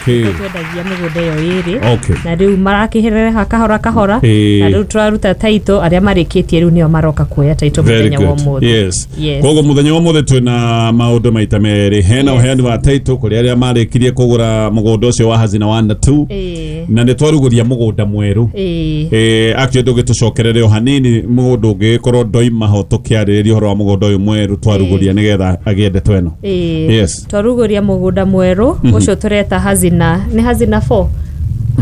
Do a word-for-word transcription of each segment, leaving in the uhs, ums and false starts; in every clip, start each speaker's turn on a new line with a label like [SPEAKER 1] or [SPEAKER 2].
[SPEAKER 1] Okay.
[SPEAKER 2] Twendagia mĩgũnda ĩyo ĩrĩ.
[SPEAKER 1] Okay.
[SPEAKER 2] Na rĩu marakĩherera kahora kahora.
[SPEAKER 1] Ĩĩ.
[SPEAKER 2] Na rĩu tũraruta title, arĩa marĩkĩtie rĩu nĩo maroka kuoya title
[SPEAKER 1] Very
[SPEAKER 2] mũthenya wa
[SPEAKER 1] good.
[SPEAKER 2] ũmũthĩ.
[SPEAKER 1] Yes.
[SPEAKER 2] Yes.
[SPEAKER 1] Koguo muthenya wa ũmũthĩ twĩna maũndũ maita merĩ. Hena
[SPEAKER 2] Yes.
[SPEAKER 1] ũheani wa title kũrĩ arĩa marĩkirie kũgũra mũgũnda ũcio wa Hazina one na two.
[SPEAKER 2] Ĩĩ.
[SPEAKER 1] Na nĩ twarugũria mũgũnda mwerũ.
[SPEAKER 2] Ĩĩ.
[SPEAKER 1] Eh, actually ndũgĩtũcokerere o hanini mũgũnda ũngĩgĩkorwo ndoima ho tũkĩarĩrĩria ũhoro wa mũgũnda ũyũ mwerũ twarugũria nĩgetha agĩe ndeto ĩno.
[SPEAKER 2] Ĩĩ.
[SPEAKER 1] Yes.
[SPEAKER 2] Twarugũria mũgũnda mwerũ ũcio tũreta Hazina, nĩ Hazina four.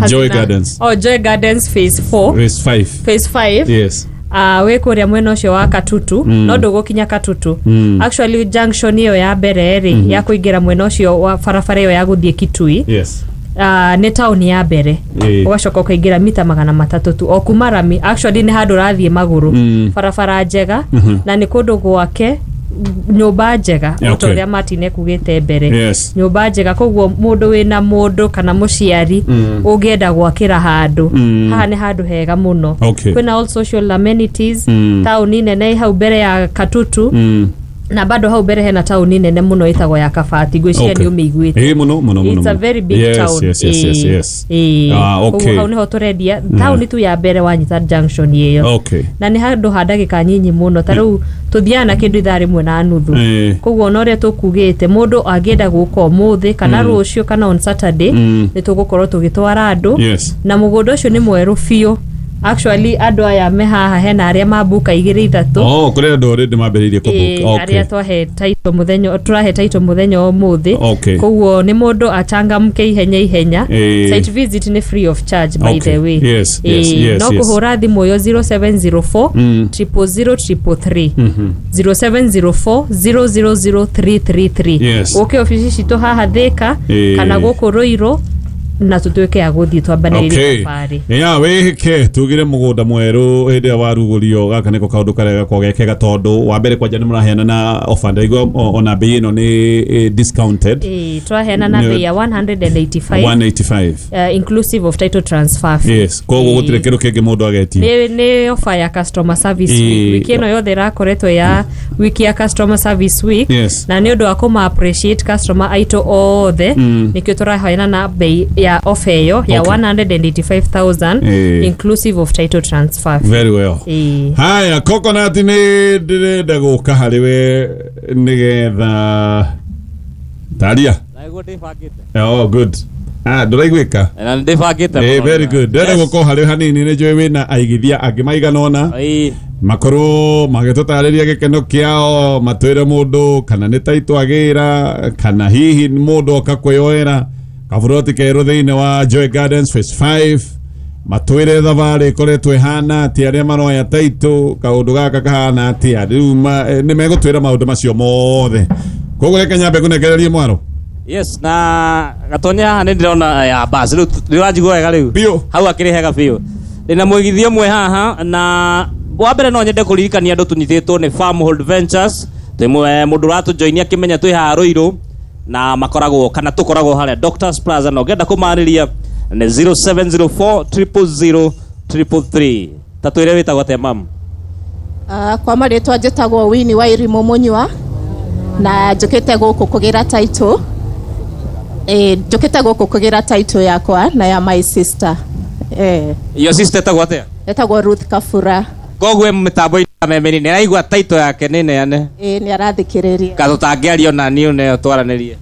[SPEAKER 1] Joy
[SPEAKER 2] Hazina-
[SPEAKER 1] Gardens.
[SPEAKER 2] Oh, Joy Gardens phase four.
[SPEAKER 1] Phase five.
[SPEAKER 2] Phase five.
[SPEAKER 1] Yes.
[SPEAKER 2] Uh, wĩ kũrĩa mwena ũcio wa Katutu, mm. no ndũgũkinya Katutu. mm. Actually junction ĩyo ya mbere rĩ, mm -hmm. ya kũingĩra mwena ũcio wa barabara ĩyo ya gũthiĩ Kitui,
[SPEAKER 1] Yes.
[SPEAKER 2] uh, nĩ taũni ya mbere.
[SPEAKER 1] Ĩĩ.
[SPEAKER 2] Ũgacoka ũkaingĩra mita magana matatũ tu o kuma rami. Actually nĩ handũ ũrathiĩ magũrũ,
[SPEAKER 1] Mm.
[SPEAKER 2] barabara njega, na nĩ kũndũ gwake, nyũmba njega o ta
[SPEAKER 1] Okay.
[SPEAKER 2] ũrĩa Martin ekugĩte mbere.
[SPEAKER 1] Yes.
[SPEAKER 2] Nyũmba njega, koguo mũndũ wĩna mũndũ kana mũciari ũngĩenda gwakĩra handũ,
[SPEAKER 1] Mm.
[SPEAKER 2] haha nĩ handũ hega mũno.
[SPEAKER 1] Okay.
[SPEAKER 2] Kwĩna all social amenities,
[SPEAKER 1] Mm.
[SPEAKER 2] taũni nene hau mbere ya Katutu,
[SPEAKER 1] Mm.
[SPEAKER 2] na bado hau mbere hena taũni nene mũno ĩtagwo ya Kabati, ngwĩciria
[SPEAKER 1] Okay.
[SPEAKER 2] nĩ ũmĩiguĩte.
[SPEAKER 1] Ĩĩ, mũno mũno mũno.
[SPEAKER 2] It's a
[SPEAKER 1] mũno.
[SPEAKER 2] very big
[SPEAKER 1] yes,
[SPEAKER 2] town.
[SPEAKER 1] Yes, yes, yes,
[SPEAKER 2] Ĩĩ.
[SPEAKER 1] yes.
[SPEAKER 2] Ĩĩ.
[SPEAKER 1] Ah, okay.
[SPEAKER 2] Koguo hau nĩho tũrendia, taũni tu ya mbere wanyita junction ĩyo.
[SPEAKER 1] Okay.
[SPEAKER 2] Na nĩ handũ ha ndagĩka nyinyi mũno, ta rĩu tũthiaga na kĩndũ ithaa rĩmwe na nuthu.
[SPEAKER 1] Ĩĩ.
[SPEAKER 2] Koguo ona ũrĩa tũkugĩte, mũndũ angĩenda gũka ũmũthĩ kana rũciũ kana on Saturday,
[SPEAKER 1] Mm.
[SPEAKER 2] nĩ tũgũkorwo tũgĩtwara andũ.
[SPEAKER 1] Yes.
[SPEAKER 2] Na mũgũnda ũcio nĩ mwerũ biũ. Actually andũ aya me haha, hena arĩa mambuka igĩrĩ ithatũ.
[SPEAKER 1] Oh, kũrĩ andũ already mambĩrĩirie
[SPEAKER 2] Ĩĩ,
[SPEAKER 1] kũbook. Okay.
[SPEAKER 2] arĩa twahe title mũthenya, tũrahe title mũthenya wa ũmũthĩ.
[SPEAKER 1] Okay.
[SPEAKER 2] Koguo nĩ mũndũ achangamke ihenya ihenya.
[SPEAKER 1] Ĩĩ.
[SPEAKER 2] Site visit nĩ free of charge, by
[SPEAKER 1] Okay.
[SPEAKER 2] the way.
[SPEAKER 1] Yes, yes,
[SPEAKER 2] Ĩĩ,
[SPEAKER 1] yes,
[SPEAKER 2] no
[SPEAKER 1] yes.
[SPEAKER 2] kũhũra thimũ ĩyo zero seven zero four
[SPEAKER 1] Mm.
[SPEAKER 2] triple zero triple three, zero seven zero four zero zero zero three three three.
[SPEAKER 1] Yes.
[SPEAKER 2] Ũke obici citũ haha Thĩka
[SPEAKER 1] Ĩĩ.
[SPEAKER 2] kana gũkũ Rũirũ, na tũtuĩke a gũthiĩ twambanĩrĩrie
[SPEAKER 1] Okay.
[SPEAKER 2] thabarĩ.
[SPEAKER 1] Ya wĩhĩke tugire mũgũnda mwerũ hĩndĩ ĩrĩa warugũrio, gaka nĩko kaũndũ karĩa gakoragwo gekega, tondũ wa mbere kwanja nĩ mũraheana na offer, ndaigua o- ona bei ĩno nĩ eh, discounted.
[SPEAKER 2] Ĩĩ, twaheana na
[SPEAKER 1] Nĩ-
[SPEAKER 2] bei ya one hundred eighty-five,
[SPEAKER 1] one eighty-five,
[SPEAKER 2] uh, inclusive of title transfer fee.
[SPEAKER 1] Yes, koguo
[SPEAKER 2] Ĩĩ.
[SPEAKER 1] gũtirĩ kĩndũ kĩngĩ mũndũ agetia.
[SPEAKER 2] nĩ nĩ offer ya customer service
[SPEAKER 1] Ĩĩ.
[SPEAKER 2] week. Wiki ĩno yothe ĩrakoretwo ya wiki ya customer service week,
[SPEAKER 1] Yes.
[SPEAKER 2] na nĩ ũndũ wa kũma appreciate customer aitũ othe,
[SPEAKER 1] Mm.
[SPEAKER 2] nĩkĩo tũraheana na bei ya offer ĩyo ya
[SPEAKER 1] Okay.
[SPEAKER 2] one hundred eighty-five thousand
[SPEAKER 1] Ĩĩ.
[SPEAKER 2] inclusive of title transfer fee.
[SPEAKER 1] Very well.
[SPEAKER 2] Ĩĩ.
[SPEAKER 1] Haya, Coconut, nĩ ndĩrenda gũka harĩ we nĩgetha taria.
[SPEAKER 3] Naiguo ndĩbangĩte.
[SPEAKER 1] Oh, good. Ah, ndũraiguĩka?
[SPEAKER 3] Na ndĩbangĩte
[SPEAKER 1] Eh,
[SPEAKER 3] mũno.
[SPEAKER 1] very good. Ndĩrenda
[SPEAKER 3] Yes.
[SPEAKER 1] gũkorwo harĩ hanini, nĩ njũĩ wĩna aigithia angĩ maigana ũna
[SPEAKER 3] Ĩĩ.
[SPEAKER 1] makorwo magĩtũtarĩria gĩkeno kĩao, matwĩre mũndũ kana nĩ taitũ agĩra, kana hihi mũndũ oka kwĩyoera kaburoti kerũ thĩinĩ wa Joy Gardens phase five, matwĩre thabarĩ ĩkoretwo ĩhana atĩa, arĩa maroya taitũ kaũndũ gaka kahana atĩa rĩu ma- eh, nĩ megũtwĩra maũndũ macio mothe. Koguo reke nyambe ngũnengererie mwaro.
[SPEAKER 3] Yes, na gatonya haha nĩ ndĩrona ya bas rĩu nĩ ũranjigua wega rĩu?
[SPEAKER 1] Biũ.
[SPEAKER 3] Hau akĩrĩ hega biũ. Ndĩna mũigithia ũmwe haha, na wa mbere no nyende kũririkania andũ tũnyitĩtwo nĩ Farmhold Ventures. Twĩ mũ- mũndũ ũratũjoinia akĩmenya twĩ haha Rũirũ, na makoragwo kana tũkoragwo harĩa Doctors Plaza, na ũngĩenda kũmarĩria nĩ zero seven zero four zero zero zero three three. Ta twĩre wĩtagwo atĩa, mam?
[SPEAKER 4] Uh, kwa marĩtwa njĩtagwo Winnie wa Irimũ Mũnyua, na njũkĩte gũkũ kũgĩra title. Eh, njũkĩte gũkũ kũgĩra title yakwa na ya my sister. Eh,
[SPEAKER 3] Your sister etagwo atĩa?
[SPEAKER 4] Etagwo Ruth Kabura.
[SPEAKER 3] Koguo mĩtambo-inĩ ya memeni nĩ araigua title yake nĩ neane?
[SPEAKER 4] Eh, nĩ arathikĩrĩria.
[SPEAKER 3] Ka tũtangĩaria ona niĩ neo twaranĩrie.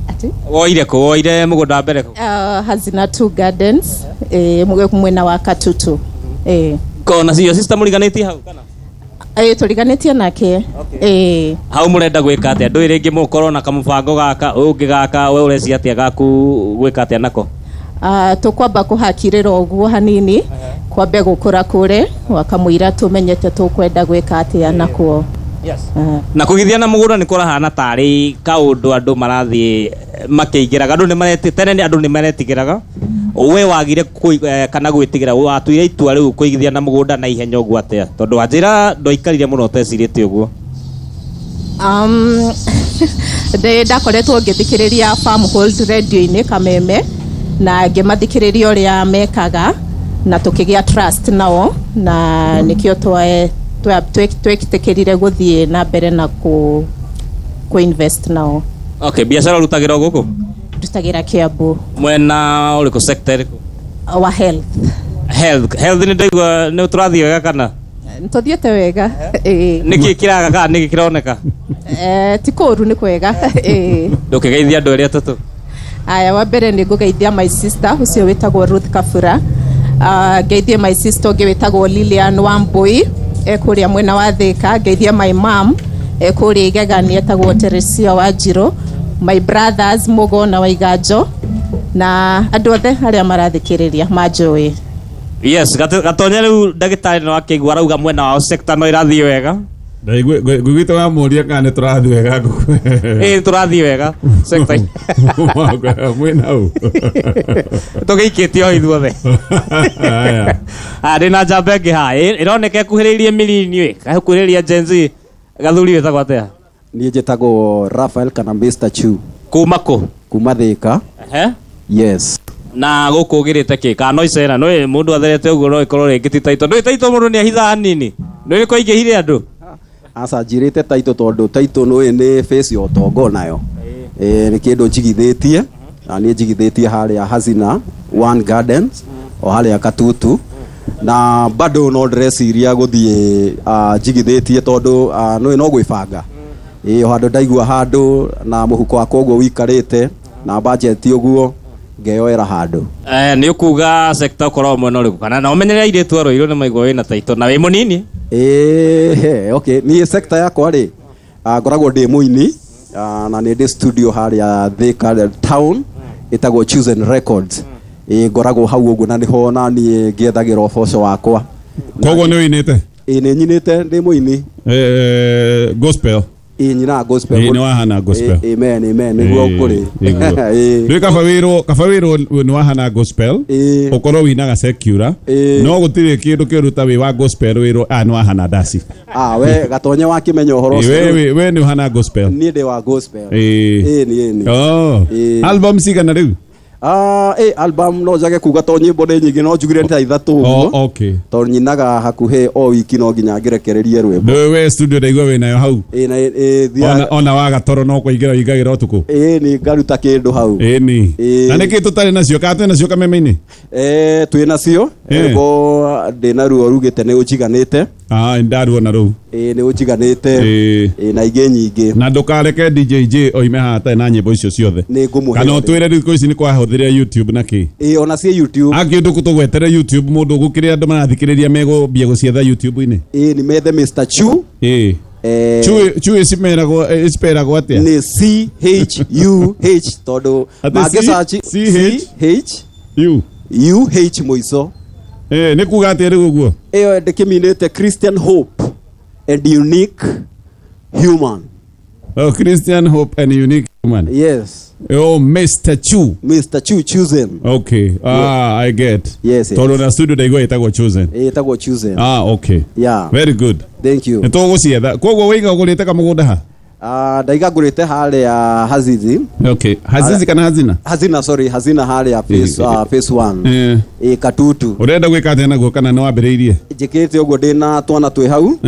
[SPEAKER 4] Ati?
[SPEAKER 3] Woire kũ? Woire mũgũnda wa mbere kũ?
[SPEAKER 4] Uh, Hazina Two Gardens, eh, mwena wa Katutu. Eh,
[SPEAKER 3] Kona your sister mũriganĩtie hau kana?
[SPEAKER 4] Eh, tũriganĩtie nake. Eh,
[SPEAKER 3] Hau mũrenda gwĩka atĩa? Ndũĩ rĩngĩ mũkorwo na kamũbango gaka ũngĩ gaka, we ũrecia atĩa gaku gwĩka atĩa nako?
[SPEAKER 4] Uh, tũkwamba kũhakirĩra ũguo hanini, kwambe gũkũra kũre wakamũira tũmenyete tũkwenda gwĩka atĩa nakuo.
[SPEAKER 3] Yes.
[SPEAKER 4] Uh,
[SPEAKER 3] na kũgithia na mũgũnda nĩ kũrahana tarĩ kaũndũ andũ marathiĩ makĩingĩraga, andũ nĩ mareti tene nĩ andũ nĩ maretigĩraga. We wagire kũi- eh, kana gwĩtigĩra, watuire itua rĩu kũigithia na mũgũnda na ihenya ũguo atĩa, tondũ wanjĩra ndwaikarire mũno ũtecirĩtie ũguo?
[SPEAKER 4] um, ndĩ ndakoretwo ngĩthikĩrĩria Farmhold radio-inĩ Kameme, na ngĩmathikĩrĩria ũrĩa mekaga, na tũkĩgĩa trust nao, na nĩkĩo twa- twa- twĩtĩkĩrire gũthiĩ na mbere na kũ, kũ invest nao.
[SPEAKER 3] Okay, biacara ũrutagĩra o gũkũ?
[SPEAKER 4] Ndutagĩra Kiambu.
[SPEAKER 3] Mwena ũrĩkũ, sector ĩrĩkũ?
[SPEAKER 4] Wa health.
[SPEAKER 3] Health, health nĩ ndaigua nĩ tũrathiĩ wega kana?
[SPEAKER 4] Tũthiĩte wega. Ĩĩ.
[SPEAKER 3] Nĩkĩ kĩraga kana nĩkĩ kĩroneka?
[SPEAKER 4] Eh, ti kũũru, nĩ kwega. Ĩĩ.
[SPEAKER 3] Ndũkĩgeithia andũ erĩ atatũ.
[SPEAKER 4] Aya, wa mbere nĩ ngũgeithia my sister ũcio wĩtagwo Ruth Kabura. Uh, ngeithie my sister ũngĩ wĩtagwo Lilian Wambui e kũrĩa mwena wa Thika. Ngeithie my mom e kũrĩa Igegani etagwo Teresia Wanjirũ, my brothers Mugo na Waiganjo na andũ othe arĩa marathikĩrĩria manjũĩ.
[SPEAKER 3] Yes, Gatonye, rĩu ndagĩtarĩ no akĩigua arauga mwena wao sector no ĩrathiĩ wega.
[SPEAKER 1] Ngũiguĩte wamũria kana nĩ tũrathiĩ wega ngũkũ.
[SPEAKER 3] Ĩĩ, tũrathiĩ wega sector.
[SPEAKER 1] Mwĩna hau.
[SPEAKER 3] Tũgĩikĩtie o ithuothe.
[SPEAKER 1] Haya.
[SPEAKER 3] Ah, ndĩna njamba ĩngĩ haha ĩroneka ĩkuhĩrĩirie mirini ĩ ĩkuhĩrĩria Gen Z. Gathuri, wĩtagwo atĩa?
[SPEAKER 5] Niĩ njĩtagwo Raphael kana Mister Chu.
[SPEAKER 3] Kuma kũ?
[SPEAKER 5] Kuma Thika.
[SPEAKER 3] Ehe.
[SPEAKER 5] Yes.
[SPEAKER 3] Na gũkũ ũgĩrĩte kĩ kana no icera no mũndũ atherete ũguo no ĩkorwo rĩngĩ ti taito ndũĩ taito mũndũ nĩ ahithaga hanini nĩ kwaingĩhire andũ.
[SPEAKER 5] Aca, njirĩte taito tondũ taito nĩ nĩ face ya ũtonga nayo. Ĩ nĩ kĩndũ njigithĩtie na niĩ njigithĩtie harĩa Hazina One Gardens o harĩa Katutu, na bado no ndĩreciria gũthiĩ njigithĩtie tondũ nĩ no gwĩbanga. Ĩ o handũ ndaigua handũ na mũhuko wakwa ũguo wĩikarĩte na budget ũguo ngeyoera handũ.
[SPEAKER 3] Eh, nĩ ũkuga sector ũkoragwo mwena ũrĩkũ kana na ũmenyere airĩtu a Ruiru nĩ maigua wĩna taito na wĩ mũnini?
[SPEAKER 5] Ĩĩ, okay, niĩ sector yakwa rĩ, ngoragwo ndĩ mũini na nĩ ndĩ studio harĩa Thika town ĩtagwo Chosen Records. Ĩ ngoragwo hau ũguo na nĩho na niĩ ngĩethagĩra ũboco wakwa.
[SPEAKER 1] Koguo nĩ ũinĩte?
[SPEAKER 5] Ĩ nĩ nyinĩte, ndĩ mũini.
[SPEAKER 1] Eh, gospel.
[SPEAKER 5] Ĩ nyina gospel.
[SPEAKER 1] Ĩ nĩ wahana gospel.
[SPEAKER 5] Amen, amen, nĩguo kũrĩ.
[SPEAKER 1] Rĩu kaba wĩrwo kaba wĩrwo nĩ wahana gospel ũkorwo winaga secular no gũtirĩ kĩndũ kĩũru ta wĩ wa gospel wĩrwo ah nĩ wahana ndaci.
[SPEAKER 5] Ah, we Gatonye wakĩmenya ũhoro ũcio.
[SPEAKER 1] We we nĩ ũhana gospel.
[SPEAKER 5] Niĩ ndĩ wa gospel. Ĩ nĩ nĩ.
[SPEAKER 1] Oh. Album cigana rĩu?
[SPEAKER 5] Ah, eh album no njage kuga to nyimbo nĩ nyingĩ no njugire nĩ ta ithatũ ũguo.
[SPEAKER 1] Oh, okay.
[SPEAKER 5] Tondũ nyinaga hakuhĩ o wiki no nginya ngĩrekererie rwĩmbo.
[SPEAKER 1] Nĩ we studio ndaigua wĩ nayo hau.
[SPEAKER 5] Ĩ na ĩ thia.
[SPEAKER 1] Ona ona wa gatoro no kũingĩra ũingagĩra ũtukũ.
[SPEAKER 5] Ĩ nĩ ngaruta kĩndũ hau.
[SPEAKER 1] Ĩ nĩ. Na nĩkĩ tũtarĩ nacio kana twĩ nacio kameme-inĩ?
[SPEAKER 5] Eh, twĩ nacio. Rwĩmbo ndĩ naruo rugĩte nĩ ũnjiganĩte.
[SPEAKER 1] Ah, ndaruona rũu.
[SPEAKER 5] Ĩ nĩ ũnjiganĩte. Ĩ na ingĩ nyingĩ.
[SPEAKER 1] Na ndũkareke D J J oime haha atarĩ na nyĩmbo icio ciothe.
[SPEAKER 5] Nĩ ngũmũhe.
[SPEAKER 1] Kana ũtwĩre rĩu thikũ ici nĩ kwahũthĩra YouTube na kĩ?
[SPEAKER 5] Ĩ ona ciĩ YouTube.
[SPEAKER 1] Angĩ ũndũ tũgwetere YouTube mũndũ gũkĩrĩ andũ marathikĩrĩria megũmbia gũcietha YouTube-inĩ.
[SPEAKER 5] Ĩ nĩ methe Mister Chu.
[SPEAKER 1] Ĩ. Chu Chu ĩcimeragwo ĩciperagwo atĩa?
[SPEAKER 5] Nĩ C H U H tondũ mangĩsearch
[SPEAKER 1] C H
[SPEAKER 5] H
[SPEAKER 1] U
[SPEAKER 5] U H mũico.
[SPEAKER 1] Eh, nĩ kuga atĩa rĩu ũguo?
[SPEAKER 5] Ĩyo ndĩkĩminĩte Christian Hope and Unique Human.
[SPEAKER 1] Oh, Christian Hope and Unique Human.
[SPEAKER 5] Yes.
[SPEAKER 1] Oh, Mister Chu.
[SPEAKER 5] Mister Chu Chosen.
[SPEAKER 1] Okay. Ah, I get.
[SPEAKER 5] Yes, yes.
[SPEAKER 1] Tondũ na studio ndaigua ĩtagwo Chosen.
[SPEAKER 5] Ĩtagwo Chosen.
[SPEAKER 1] Ah, okay.
[SPEAKER 5] Yeah.
[SPEAKER 1] Very good.
[SPEAKER 5] Thank you.
[SPEAKER 1] Nĩ tũgũcietha. Koguo waiga ũgũrĩte kamũgũnda ha?
[SPEAKER 5] Ah, ndaiga ngũrĩte harĩa Hazizi.
[SPEAKER 1] Okay. Hazizi kana Hazina?
[SPEAKER 5] Hazina, sorry, Hazina harĩa phase uh, phase one.
[SPEAKER 1] Eh.
[SPEAKER 5] Ĩ Katutu.
[SPEAKER 1] Ũrenda gwĩka atĩa naguo kana nĩ wambĩrĩirie?
[SPEAKER 5] Njĩkĩte ũguo ndĩna twana twĩ hau.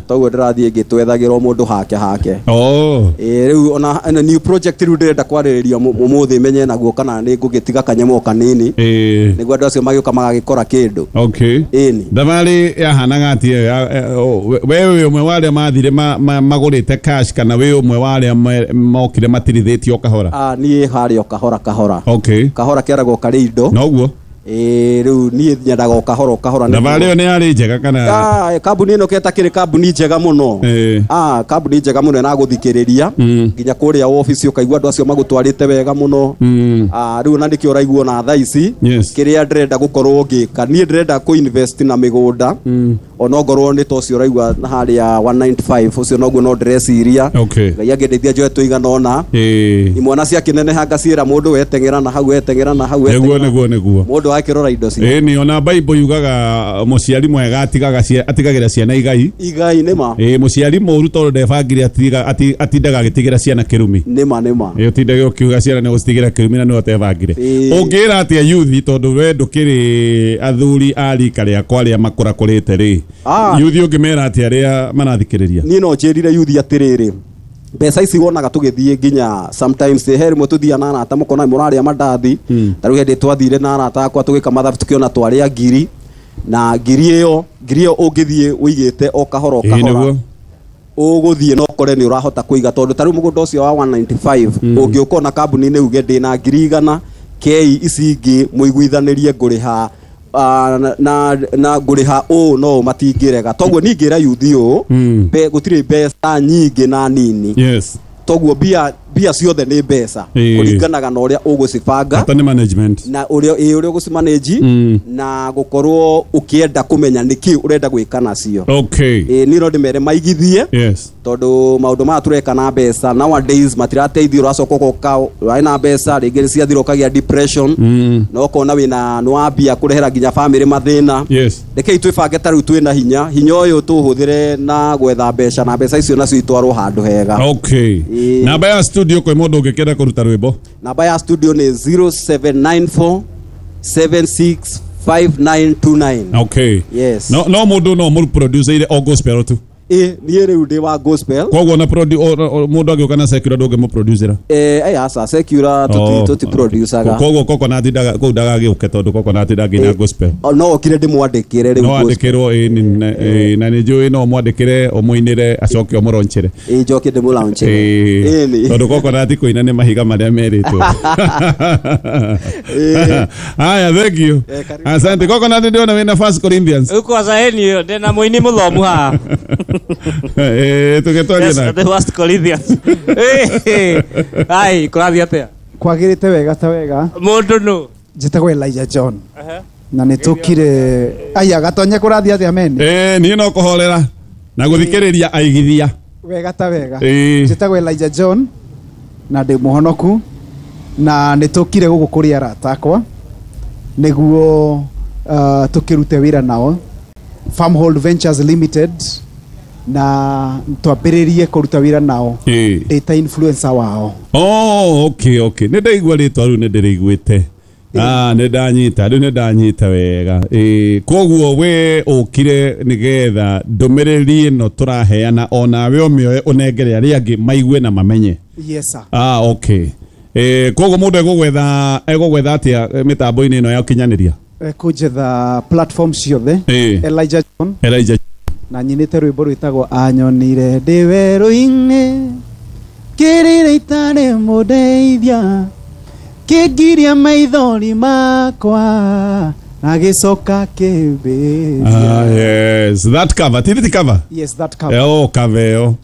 [SPEAKER 5] Toguo ndĩrathiĩ ngĩtwethagĩra o mũndũ hake hake.
[SPEAKER 1] Oh.
[SPEAKER 5] Ĩ rĩu ona ĩno new project rĩu ndĩrenda kwarĩrĩria ũmũthĩ menye naguo kana nĩ ngũgĩtiga kanyamũ kanini.
[SPEAKER 1] Ĩ.
[SPEAKER 5] Nĩguo andũ acio magĩũka magagĩkora kĩndũ.
[SPEAKER 1] Okay.
[SPEAKER 5] Ĩni.
[SPEAKER 1] Thabarĩ yahanaga atĩa? We wĩ ũmwe wa arĩa mathire magũrĩte cash kana wĩ ũmwe wa arĩa mokire matirithĩtio kahora?
[SPEAKER 5] Ah, niĩ harĩa o kahora kahora.
[SPEAKER 1] Okay.
[SPEAKER 5] Kahora kĩaragwo karĩ indo.
[SPEAKER 1] Noguo.
[SPEAKER 5] Ĩ rĩu niĩ nyendaga o kahora o kahora.
[SPEAKER 1] Thabarĩ ĩyo nĩ yarĩ njega kana?
[SPEAKER 5] Ah, kambuni ĩno ketakĩrĩ kambuni njega mũno. Ah, kambuni njega mũno na gũthikĩrĩria nginya kũrĩa office ũkaigua andũ acio magũtwarĩte wega mũno. Ah, rĩu na nĩkĩo ũraigua ona thaa ici kĩrĩa ndĩrenda gũkorwo ngĩka niĩ ndĩrenda kũ invest na mĩgũnda ona ngorwo nĩ ta ũcio ũraigua harĩa one ninety-five ũcio noguo no ndĩreciria. Ngai angĩndeithia njoe tũigana ũna. Imwana ciakĩneneha ngaciĩra mũndũ weteng'era na hau weteng'era na hau
[SPEAKER 1] weteng'era. Nĩguo nĩguo nĩguo.
[SPEAKER 5] Mũndũ akĩrora indo cia.
[SPEAKER 1] Ĩ nĩ ona Bible yugaga mũciari mwega atigaga atigagĩra ciana igai.
[SPEAKER 5] Igai nĩma.
[SPEAKER 1] Ĩ mũciari mũũru tondũ ndebangire atindaga agĩtigĩra ciana kĩrumi.
[SPEAKER 5] Nĩma nĩma.
[SPEAKER 1] Ĩ ũtindage ũkiuga ciana nĩ gũcitigĩra kĩrumi na nĩwe ũtebangire. Ũngĩra atĩa youth tondũ we ndũkĩrĩ athuri a rika rĩakwa arĩa makũrakũrĩte rĩ. Youth ũngĩmera atĩa arĩa marathikĩrĩria?
[SPEAKER 5] Niĩ no njĩrire youth atĩrĩrĩ Mbeca ici wonaga tũgĩthiĩ nginya sometimes he rĩmwe tũthiaga na arata mũkona mũrarĩa mandathi. Ta rĩu hĩndĩ twathire na arata akwa tũgĩka mathabu tũkĩona twarĩa ngiri na ngiri ĩyo ngiri ĩyo ũngĩthiĩ ũigĩte o kahora o kahora ũgũthiĩ na ũkore nĩ ũrahota kũiga tondũ ta rĩu mũgũnda ũcio wa one ninety-five ũngĩũka ona kambuni-inĩ uge ndĩna ngiri igana kei ici ingĩ mũiguithanĩrie ngũrĩha na na, na ngũrĩha ũũ no matingĩrega toguo ningĩra yuthi ũũ be gũtirĩ mbeca nyingĩ na nini.
[SPEAKER 1] Yes.
[SPEAKER 5] Toguo mbia mbia ciothe nĩ mbeca kũringanaga na ũrĩa ũgũcibanga
[SPEAKER 1] bata nĩ management
[SPEAKER 5] na ũrĩa ĩ ũrĩa ũgũcimanage na gũkorwo ũkĩenda kũmenya nĩkĩ ũrenda gwĩka nacio.
[SPEAKER 1] Okay.
[SPEAKER 5] Ĩ niĩ no ndĩmere maigithie.
[SPEAKER 1] Yes.
[SPEAKER 5] Tondũ maũndũ maya tũreka na mbeca nowadays matirateithia ũracoka ũgoka ũrarĩ na mbeca rĩngĩ ciathira ũkagĩa depression na ũkona wĩna nĩwambia kũrehera nginya family mathĩna.
[SPEAKER 1] Yes.
[SPEAKER 5] Rekei twĩbange ta rĩu twĩna hinya hinya ũyũ tũhũthĩre na gwetha mbeca na mbeca icio nacio itwarwo handũ hega.
[SPEAKER 1] Okay. Namba ya studio kwĩ mũndũ ũngĩkenda kũruta rwĩmbo?
[SPEAKER 5] Namba ya studio nĩ zero seven nine four seven six five nine two nine.
[SPEAKER 1] Okay.
[SPEAKER 5] Yes.
[SPEAKER 1] No no mũndũ no mũru producer o gospel tu.
[SPEAKER 5] Ĩ niĩ rĩu ndĩ wa gospel.
[SPEAKER 1] Koguo na mũndũ angĩũka na secular ndũngĩmũproducera?
[SPEAKER 5] Eh eh aca secular tũti producaga.
[SPEAKER 1] Koguo Coconut ndaga kũu ndagagĩũke tondũ Coconut ndangĩina gospel.
[SPEAKER 5] No okire ndĩmwandĩkĩre rĩu.
[SPEAKER 1] No andĩkĩrwo ĩ na nĩ njũĩ no mwandĩkĩre ũmũinĩre acoke ũmũronchere.
[SPEAKER 5] Ĩ njoke ndĩmũlaunchere.
[SPEAKER 1] Ĩ tondũ Coconut kũina nĩ mahiga marĩa merĩtwo. Haya, thank you. Asante. Coconut ndĩrona wĩna First Corinthians.
[SPEAKER 3] Uko acaeni ndĩna mũini mũthomu haha.
[SPEAKER 1] Eh tũgĩtwaria na
[SPEAKER 3] the First Corinthians. Eh ai kũrathiĩ atĩa?
[SPEAKER 6] Kwagĩrĩte wega ta wega.
[SPEAKER 3] Mũndũ nũ?
[SPEAKER 6] Njĩtagwo Elijah John. Na nĩ tũkire aya gatonye kũrathiĩ atĩa mene?
[SPEAKER 1] Eh niĩ no kũhorera na gũthikĩrĩria aigithia.
[SPEAKER 6] Wega ta wega. Njĩtagwo Elijah John na ndĩ mũhonoku na nĩ tũkire gũkũ kũrĩ arata akwa nĩguo tũkĩrute wĩra nao Farmhold Ventures Limited na twambĩrĩrie kũruta wĩra nao data influencer wao.
[SPEAKER 1] Oh, okay, okay. Nĩ ndaigua rĩtwa rĩu nĩ ndĩrĩiguĩte. Ah, nĩ ndanyita, rĩu nĩ ndanyita wega. Eh, koguo we ũkire nĩgetha ndũmĩrĩri ĩno tũraheana onawe ũmĩoe ũnengere arĩa angĩ maigue na mamenye.
[SPEAKER 6] Yes sir.
[SPEAKER 1] Ah, okay. Eh, koguo mũndũ egũgwetha egũgwetha atĩa mĩtambo-inĩ ĩno ya ũkinyanĩria?
[SPEAKER 6] Ekũnjetha platform ciothe. Elijah John.
[SPEAKER 1] Elijah
[SPEAKER 6] na nyinĩte rwĩmbo rwĩtagwo anyonire ndĩ werũ-inĩ kĩrĩra itarĩ mũndeithia kĩngiria maithori makwa na gĩcoka kĩmbĩria.
[SPEAKER 1] Ah, yes, that cover. Tiri cover?
[SPEAKER 6] Yes, that cover.
[SPEAKER 1] Oh, cover ĩyo.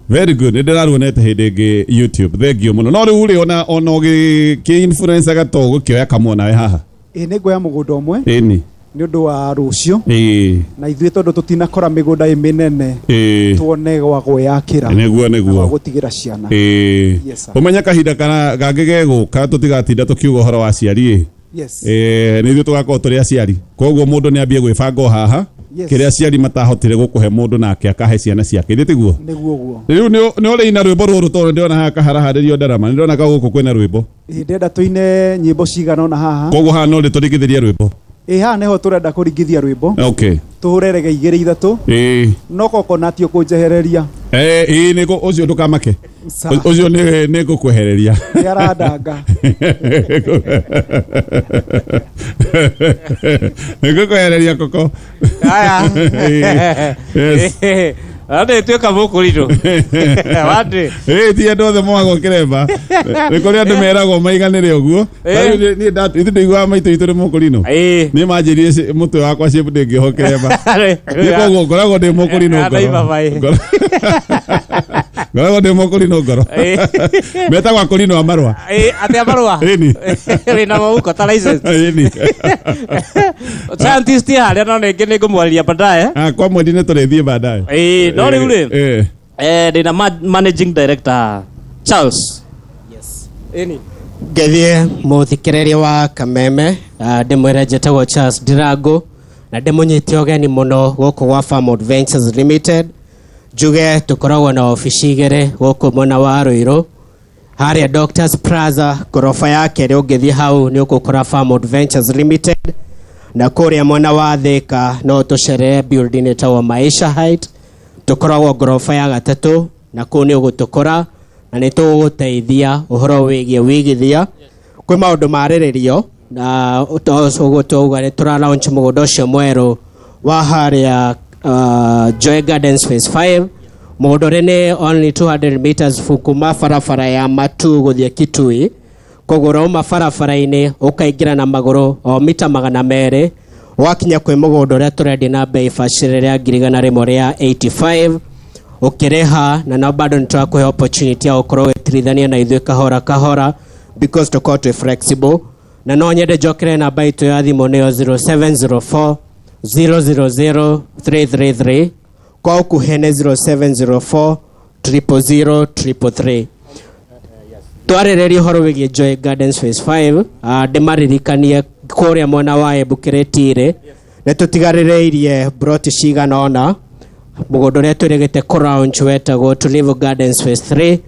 [SPEAKER 1] Very good. Nĩ ndĩraruonete hĩndĩ ĩngĩ YouTube. Thank you mũno. No rĩu rĩ ona ona ũgĩ influencer gato gũkĩoya kamwe nawe haha.
[SPEAKER 6] Ĩ nĩ nguoya mũgũnda ũmwe.
[SPEAKER 1] Ĩni.
[SPEAKER 6] Nĩ ũndũ wa rũciũ.
[SPEAKER 1] Ĩĩ.
[SPEAKER 6] Na ithuĩ tondũ tũtinakora mĩgũnda ĩ mĩnene.
[SPEAKER 1] Ĩĩ.
[SPEAKER 6] Tuone gwa gwĩyakĩra.
[SPEAKER 1] Nĩguo nĩguo.
[SPEAKER 6] Gwa gũtigĩra ciana.
[SPEAKER 1] Ĩĩ.
[SPEAKER 6] Yes sir.
[SPEAKER 1] Ũmenye kahinda kana gangĩ gegũka tũtigatinda tũkiuga ũhoro wa aciari ĩ.
[SPEAKER 6] Yes.
[SPEAKER 1] Ĩĩ nĩ ithuĩ tũgakorwo tũrĩ aciari. Koguo mũndũ nĩ ambie gwĩbanga o haha. Kĩrĩa aciari matahotire gũkũhe mũndũ nake akahe ciana ciake. Ithĩ tiguo?
[SPEAKER 6] Nĩguo guo.
[SPEAKER 1] Rĩu nĩ ũrĩina rwĩmbo rũrũ tondũ ndĩrona haha kaharaharĩrio ndarama. Nĩ ndĩrona gũkũ kwĩna rwĩmbo.
[SPEAKER 6] Ĩĩ ndĩrenda tũine nyĩmbo cigana ũna haha.
[SPEAKER 1] Koguo haha no rĩtũringithĩrie rwĩmbo.
[SPEAKER 6] Ĩ haha nĩho tũrenda kũringithia rwĩmbo.
[SPEAKER 1] Okay.
[SPEAKER 6] Tũhũre rege igĩrĩ ithatũ.
[SPEAKER 1] Ĩĩ.
[SPEAKER 6] No Coconut ũkũnjehereria.
[SPEAKER 1] Eh ĩĩ nĩkũ ũcio ndũkamake. Ũcio nĩ nĩ ngũkwehereria.
[SPEAKER 6] Nĩ arandanga.
[SPEAKER 1] Nĩ ngũkwehereria koko.
[SPEAKER 3] Aya.
[SPEAKER 1] Yes.
[SPEAKER 3] Ande tuĩka mũkũrinũ. Wande.
[SPEAKER 1] Ĩĩ ti andũ othe moagwo kĩremba. Nĩ kũrĩ andũ meragwo maiganĩre ũguo. Rĩu niĩ ithuĩ ndĩiguaga maitũ itũ nĩ mũkũrinũ. Niĩ manjĩrire mũtwe wakwa shape ndĩngĩohwo kĩremba. Niĩ koguo ngoragwo ndĩ mũkũrinũ ngoro. Ngoragwo ndĩ mũkũrinũ ngoro. Metagwo akũrinũ a marũa.
[SPEAKER 3] Ĩĩ atĩa marũa?
[SPEAKER 1] Ĩni.
[SPEAKER 3] Wĩna mũhuko ta license.
[SPEAKER 1] Ĩni.
[SPEAKER 3] Scientist harĩa no nĩngĩ nĩngũmwarĩria baadaye.
[SPEAKER 1] Ah, kwa mwendi nĩ tũrĩthiĩ baadaye.
[SPEAKER 3] Ĩĩ no rĩu rĩ. Eh ndĩna managing director Charles.
[SPEAKER 7] Yes.
[SPEAKER 3] Ĩni.
[SPEAKER 7] Ngethie mũthikĩrĩria wa Kameme ndĩmwĩre njĩtagwo Charles Ndirango na ndĩmũnyite ũgeni mũno gũkũ gwa Farmhold Ventures Limited. Njuge tũkoragwo na obici igĩrĩ gũkũ mwena wa Ruiru harĩa Doctors Plaza ngoroba ya kerĩ ũngĩthiĩ hau nĩ ũgũkora Farmhold Ventures Limited na kũrĩa mwena wa Thika no tũcerere building ĩtagwo Maisha Height tũkoragwo ngoroba ya gatatũ na kũu nĩ ũgũtũkora. na nĩ tũgũgũteithia ũhoro wĩgiĩ wĩigithia. Kwĩ maũndũ marĩrĩrio na ũguo twauga nĩ tũra launch mũgũnda ũcio mwerũ wa harĩa uh, Joy Gardens Phase five. Mũgũnda ũrĩa nĩ only two hundred meters kuma barabara ya Matu gũthiĩ Kitui. Koguo ũrauma barabara-inĩ ũkaingĩra na magũrũ o mita magana merĩ wakinya kwĩ mũgũnda ũrĩa tũrendia na bei bacĩrĩre ya ngiri igana rĩmwe rĩa eighty-five ũkĩrĩha, na no bado nĩ tũrakũhe opportunity ya gũkorwo ũgĩtirithania na ithuĩ kahora kahora because tũkorwo twĩ flexible. Na no nyende njokere namba itũ ya thimũ nĩyo zero seven zero four zero zero zero three three three, kwa ũkuhĩ nĩ zero seven zero four triple zero triple three. Twarĩrĩria ũhoro wĩgiĩ Joy Gardens Phase five, uh, ndĩmaririkanie kũrĩa mwena wa Embu Kĩrĩtirĩ nĩ tũtigarĩrĩirie broti cigana ũna. Mũgũnda ũrĩa twĩrĩgĩte kũ-launch wetagwo Tulivu Gardens Phase three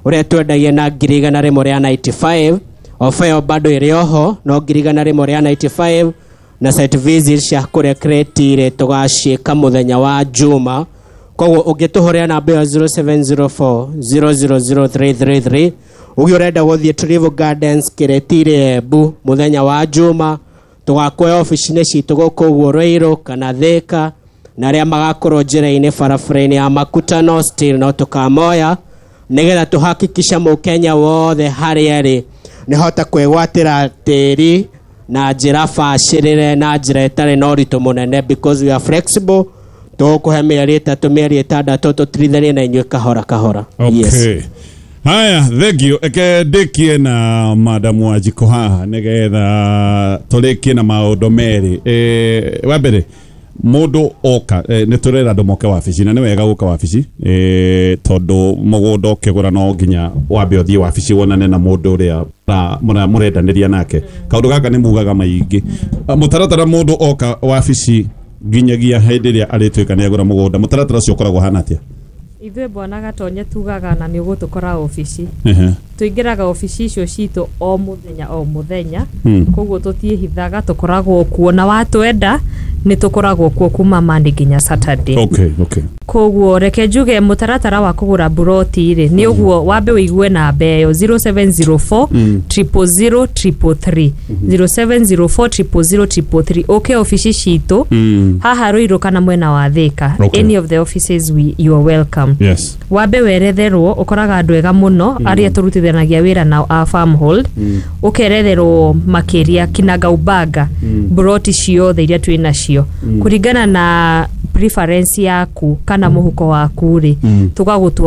[SPEAKER 7] ũrĩa twendagia na ngiri igana rĩmwe rĩa ninety-five. Ofa ĩyo bado ĩrĩ oho no ngiri igana rĩmwe rĩa ninety-five, na site visit cia kũrĩa Kĩrĩtirĩ tũgaciĩka mũthenya wa Juma. Koguo ũngĩtũhũrĩra namba ĩyo zero seven zero four zero zero zero three three three ũgĩ ũrenda gũthiĩ Tulivu Gardens Kĩrĩtirĩ Embu mũthenya wa Juma, tũgakuoya obici-inĩ citũ gũkũ ũguo Ruiru kana Thika, na arĩa magakorwo njĩra-inĩ barabara-inĩ ya Makutano still no tũkamoya nĩgetha tũhakikisha mũkenya wothe harĩa arĩ nĩhota kwĩgwatĩra tĩri na njĩra bacĩrĩre na njĩra ĩtarĩ na ũritũ mũnene because we are flexible. Tũgũkũhe mĩeri ĩtatũ mĩeri ĩtandatũ tũtirithanie na inyuĩ kahora kahora.
[SPEAKER 1] Okay.
[SPEAKER 7] Yes.
[SPEAKER 1] Haya, thank you. Eke ndikie na Madam Wanjikũ haha nĩgetha tũrĩkie na maũndũ merĩ. Eh, wa mbere mũndũ oka eh, nĩ tũrera andũ moke wabici na nĩ wega gũka wabici eh, tondũ mũgũnda ũkĩgũra no nginya wambe ũthiĩ wabici wonane na mũndũ ũrĩa mũrendanĩria nake. Kaũndũ gaka nĩ mugaga maingĩ. Mũtaratara mũndũ oka wabici nginyagia hĩndĩ ĩrĩa arĩtuĩka nĩ agũra mũgũnda, mũtaratara ũcio ũkoragwo hana atĩa?
[SPEAKER 2] Ithuĩ bwana Gatonye tugaga na nĩ ũgũtũkora obici. Tũingĩraga obici icio citũ o mũthenya o mũthenya, koguo tũtiĩhithaga, tũkoragwo kuo na watwenda nĩ tũkoragwo kuo kuma Monday nginya Saturday.
[SPEAKER 1] Okay, okay.
[SPEAKER 2] Koguo reke njuge mũtaratara wa kũgũra buroti rĩ nĩ ũguo, wambe ũigue namba ĩyo zero seven zero four triple zero triple three, zero seven zero four triple zero triple three. Ũke obici citũ haha Ruiru kana mwena wa Thika.
[SPEAKER 1] Okay.
[SPEAKER 2] Any of the offices we, you are welcome.
[SPEAKER 1] Yes.
[SPEAKER 2] Wambe weretherwo, ũkoraga andũ ega mũno arĩa tũrutithanagia wĩra nao a Farmhold, ũkeretherwo makĩria kinagaubaga buroti ciothe iria twĩ nacio kũringana na preference yaku kana mũhuko waku rĩ, tũgagũtwara